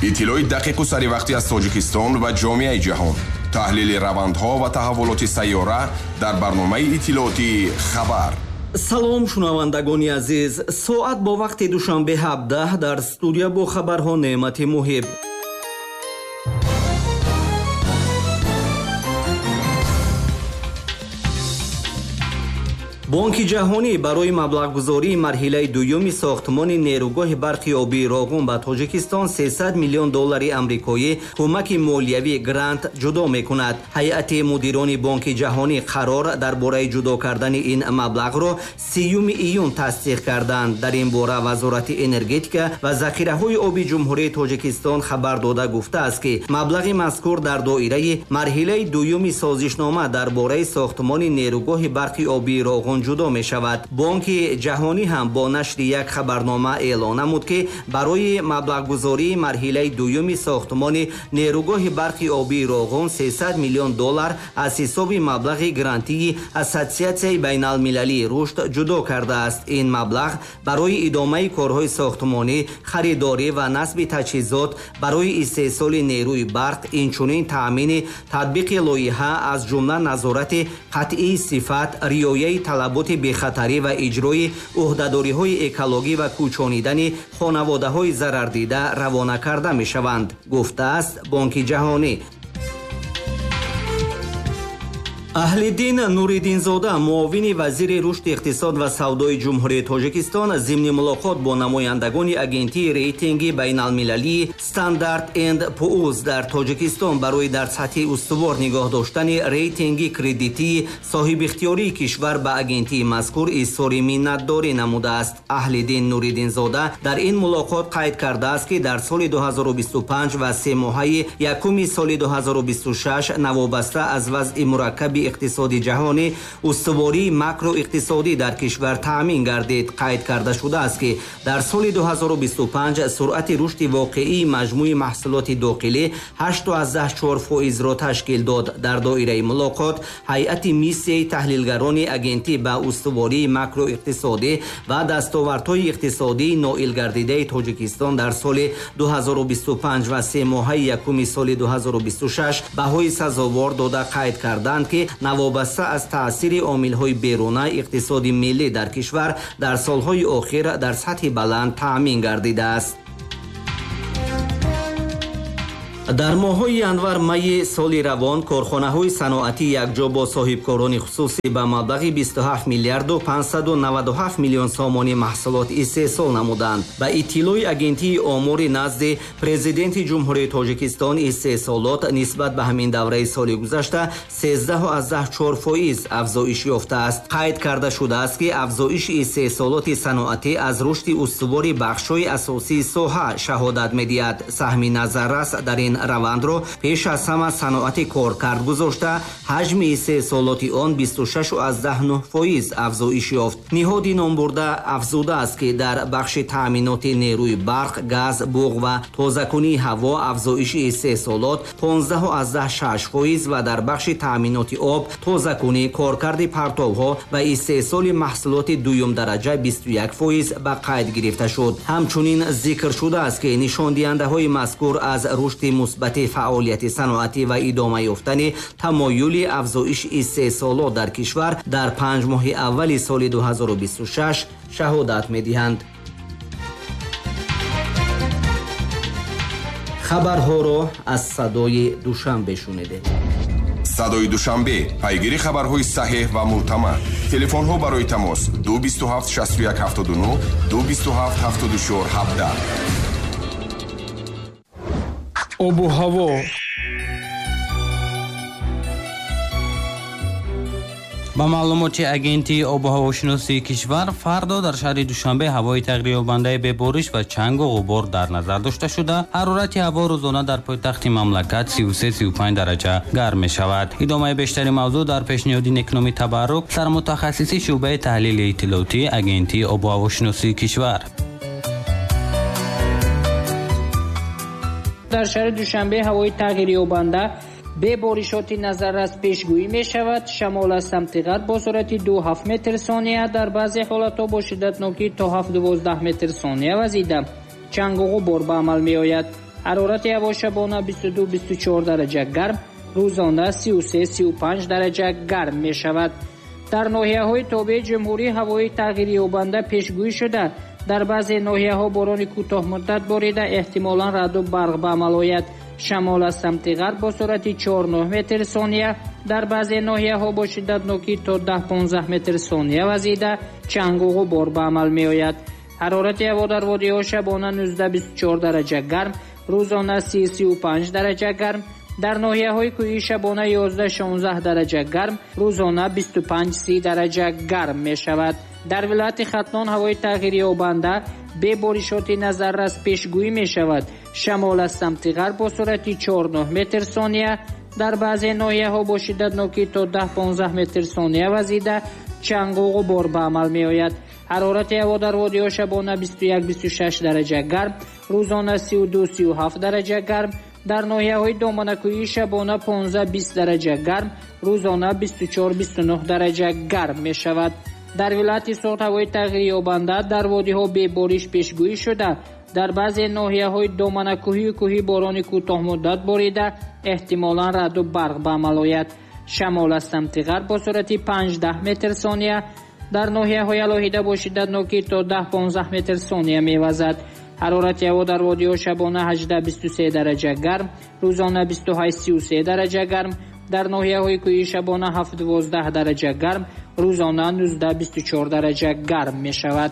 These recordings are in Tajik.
Иттилои дақиқу саривақтӣ аз Тоҷикистон ва ҷомеаи ҷаҳон, таҳлили равандҳо ва таҳаввулоти сайёра дар барномаи иттилоотии «Хабар». Салом, шунавандагони азиз. Соат бо вақти Душанбе 17, дар студия бо хабарҳо Неъмати Муҳиб. Бонки ҷаҳонӣ барои маблағгузории марҳилаи дуюми сохтмони нерӯгоҳи барқи обии Роғун ба Тоҷикистон 300 миллион доллари амрикоӣ кӯмаки молиявӣ грант ҷудо мекунад. Ҳайати мудирони Бонки ҷаҳонӣ қарор дар бораи ҷудо кардани ин маблағро 30 июн тасдиқ карданд. Дар ин бора Вазорати энергетика ва захираҳои оби Ҷумҳурии Тоҷикистон хабар дода гуфтааст, ки маблағи мазкур дар доираи марҳилаи дуюми созишнома дар бораи сохтмони нерӯгоҳи барқи обии Роғун ҷудо мешавад. Бонки ҷаҳонӣ ҳам бо нашри як хабарнома эълон намуд, ки барои маблағгузории марҳилаи дуюми сохтмони нерӯгоҳи барқи обии Роғун 300 миллион доллар аз ҳисоби маблағи грантии Ассотсиатсияи байналмилалии рушд ҷудо кардааст. Ин маблағ барои идомаи корҳои сохтмонӣ, харидорӣ ва насби таҷҳизот барои истеҳсоли нерӯи барқ, инчунин таъмини татбиқи лоиҳа, аз ҷумла назорати қатъии сифат, риояи талаботи бехатарӣ ва иҷрои ӯҳдадориҳои экологӣ ва кӯчонидани хонаводаҳои зарардида равона карда мешаванд, гуфтааст Бонки ҷаҳонӣ. Аҳлиддин Нуриддинзода, муовини вазири рушди иқтисод ва савдои Ҷумҳурии Тоҷикистон, зимни мулоқот бо намояндагони агентии рейтинги байналмилалии Стандарт энд Пуурс дар Тоҷикистон барои дар сатҳи устувор нигоҳ доштани рейтинги кредитии соҳибихтиёрии кишвар ба агентии мазкур изҳори миннатдорӣ намудааст. Аҳлиддин Нуриддинзода дар ин мулоқот қайд кардааст, ки дар соли 2025 ва семоҳаи якуми соли 2026 навобаста аз вазъи мураккаби иқтисоди ҷаҳонӣ устувории макроиқтисодӣ дар кишвар таъмин гардид. Қайд карда шудааст, ки дар соли 2025 суръати рушди воқеии маҷмӯи маҳсулоти дохилӣ 8,4 фоизро ташкил дод. Дар доираи мулоқот ҳайати миссияи таҳлилгарони агентӣ ба устувории макроиқтисодӣ ва дастовардҳои иқтисодии ноил гардидаи Тоҷикистон дар соли 2025 ва семоҳаи якуми соли 2026 баҳои сазовор дода қайд карданд, ки навобаста аз таъсири омилҳои беруна иқтисоди миллӣ дар кишвар дар солҳои охир дар сатҳи баланд таъмин гардидааст. Дар моҳҳои январ-майи соли равон корхонаҳои саноатӣ якҷо бо соҳибкорони хусусӣ ба маблағи 27 миллиарду 597 миллион сомонӣ маҳсулот истеҳсол намуданд. Ба иттилои агентии омори назди Президенти Ҷумҳурии Тоҷикистон, истеҳсолот нисбат ба ҳамин давраи соли гузашта 13,4 фоиз афзоиш ёфтааст. Қайд карда шудааст, ки афзоиши истеҳсолоти саноатӣ аз рушди устувори бахшҳои асосии соҳа шаҳодат медиҳад. Саҳми назаррас дар ин равандро пеш аз ҳама саноати коркард гузошта, ҳаҷми истеҳсолоти он 26,9 фоиз афзоиш ёфт. Ниҳоди номбурда афзудааст, ки дар бахши таъминоти нерӯи барқ, газ, буғ ва тозакунии ҳаво афзоиши истеҳсолот 15,6 фоиз ва дар бахши таъминоти об, тозакунӣ, коркарди партовҳо ва истеҳсоли маҳсулоти дуюмдараҷа 21 фоиз ба қайд гирифта шуд. Ҳамчунин зикр шудааст, ки нишондиҳандаҳои мазкур аз рушди мусбати фаъолияти саноатӣ ва идома ёфтани тамоюли афзоиши истеҳсолот дар кишвар дар 5 моҳи аввали соли 2026 шаҳодат медиҳанд. Хабарҳоро аз Садои Душанбе шунидед. Садои Душанбе, пайгири хабарҳои саҳеҳ ва мӯътамад. Телефонҳо барои тамос 227 61 79, 227 74 17. Обу ҳаво. Ба маълумоти агентии обу ҳавошиносии кишвар, фардо дар шаҳри Душанбе ҳавои тағйирёбандаи бебориш ва чангу ғубор дар назар дошта шуда, ҳарорати ҳаво рӯзона дар пойтахти мамлакат 33-35 дараҷа гарм мешавад. Идомаи бештари мавзӯъ дар пешниҳоди Некноми Табаррук, сармутахассиси шӯъбаи таҳлили иттилоотии агентии обу ҳавошиносии кишвар. Дар шаҳри Душанбе ҳавои тағйирёбанда беборишоти назаррас пешгӯӣ мешавад. Шамол аз самти ғарб бо суръати 2,7 метр сония, дар баъзе ҳолатҳо бо шиддатнокӣ то 7,12 метр сония вазида, чангу ғубор ба амал меояд. Ҳарорати ҳаво шабона 22-24 дараҷа гарм, рӯзона 33-35 дараҷа гарм мешавад. Дар ноҳияҳои тобеи ҷумҳурӣ ҳавои тағйирёбанда пешгӯӣ шуда, дар баъзе ноҳияҳо борони кӯтоҳмуддат борида, эҳтимолан раъду барқ ба амал ояд. Шамол аз самти ғарб бо суръати 4-9 метр сония, дар баъзе ноҳияҳо бо шиддатнокӣ то 10-15 метр сония вазида, чангу ғубор ба амал меояд. Ҳарорати ҳаво дар водиҳо шабона 19-24 дараҷа гарм, рӯзона 30-35 дараҷа гарм. Дар ноҳияҳои кӯҳӣ шабона 11-16 дараҷа гарм, рӯзона 25-30 дараҷа гарм мешавад. Дар вилояти Хатлон ҳавои тағйирёбанда бе боришоти назаррас пешгӯӣ мешавад. Шамол аз самти ғарб бо суръати 4-9 метр сония, дар баъзе ноҳияҳо бо шиддатнокӣ то 10-15 метр сония вазида, чангу ғубор ба амал меояд. Ҳарорати ҳаво дар водиҳо шабона 21-26 дараҷа гарм, рӯзона 32-37 дараҷа гарм. Дар ноҳияҳои доманакӯҳӣ шабона 15-20 дараҷа гарм, рӯзона 24-29 дараҷа гарм мешавад. Дар вилояти Суғд ҳавои тағйирёбанда дар водиҳо бебориш пешгӯӣ шуда, дар баъзе ноҳияҳои доманакӯҳию кӯҳӣ борони кӯтоҳмуддат борида, эҳтимолан раъду барқ ба амал ояд. Шамол аз самти ғарб бо суръати 5-10 метр сония, дар ноҳияҳои алоҳида бо шиддатнокӣ то 10-15 метр сония мевазад. Ҳарорати ҳаво дар водиҳо шабона 18-23 дараҷа гарм, рӯзона 28-33 дараҷа гарм. Дар ноҳияҳои кӯҳӣ шабона 7-12 дараҷа гарм, рӯзона 19-24 дараҷа гарм мешавад.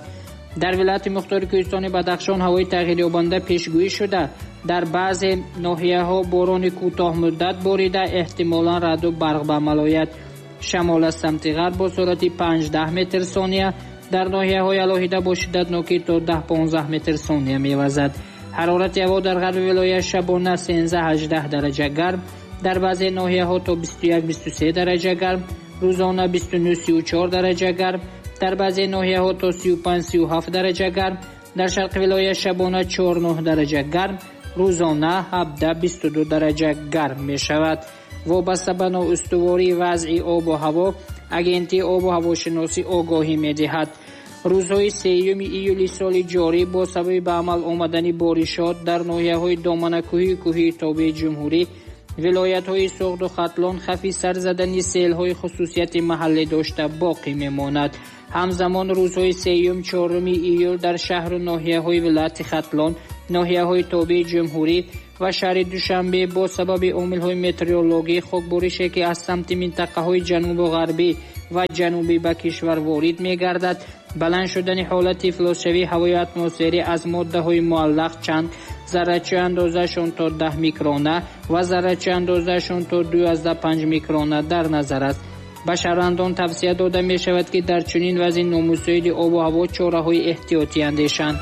Дар вилояти мухтори кӯҳистони Бадахшон ҳавои тағйирёбанда пешгӯӣ шуда, дар баъзе ноҳияҳо борони кӯтоҳмуддат борида, эҳтимолан раъду барқ ба амал ояд. Шамол аз самти ғарб бо суръати 5-10 метр сония, дар ноҳияҳои алоҳида бо шиддатнокӣ то 10-15 метр сония мевазад. Ҳарорати ҳаво дар ғарби вилоят шабона 13-18 дараҷа гарм, дар баъзе ноҳияҳо то 21-23 дараҷа гарм, рӯзона 29-34 дараҷа гарм, дар баъзе ноҳияҳо то 35-37 дараҷа гарм, дар шарқи вилоят шабона 4-9 дараҷа гарм, рӯзона 17-22 дараҷа гарм мешавад. Вобаста ба ноустувории вазъи обу ҳаво, Агентии обу ҳавошиносӣ огоҳӣ медиҳад. Рӯзҳои 3 июли соли ҷорӣ бо сабаби ба амал омадани боришот дар ноҳияҳои доманакӯҳию кӯҳии тобеи ҷумҳурӣ, вилоятҳои Суғду Хатлон хавфи сар задани селҳои хусусияти маҳаллӣ дошта боқӣ мемонад. Ҳамзамон рӯзҳои 3-4 июл дар шаҳру ноҳияҳои вилояти Хатлон, ноҳияҳои тобеи ҷумҳурӣ ва шаҳри Душанбе бо сабаби омилҳои метеорологӣ хокборише, ки аз самти минтақаҳои ҷанубу ғарбӣ ва ҷанубӣ ба кишвар ворид мегардад, баланд шудани ҳолати ифлосшавии ҳавои атмосферӣ аз моддаҳои муаллақ чанд заррачаи андозаашон то 10 микрона ва заррачаи андозаашон то 2,5 микрона дар назар аст. Ба шаҳрвандон тавсия дода мешавад, ки дар чунин вазъи номусоиди обу ҳаво чораҳои эҳтиётӣ андешанд.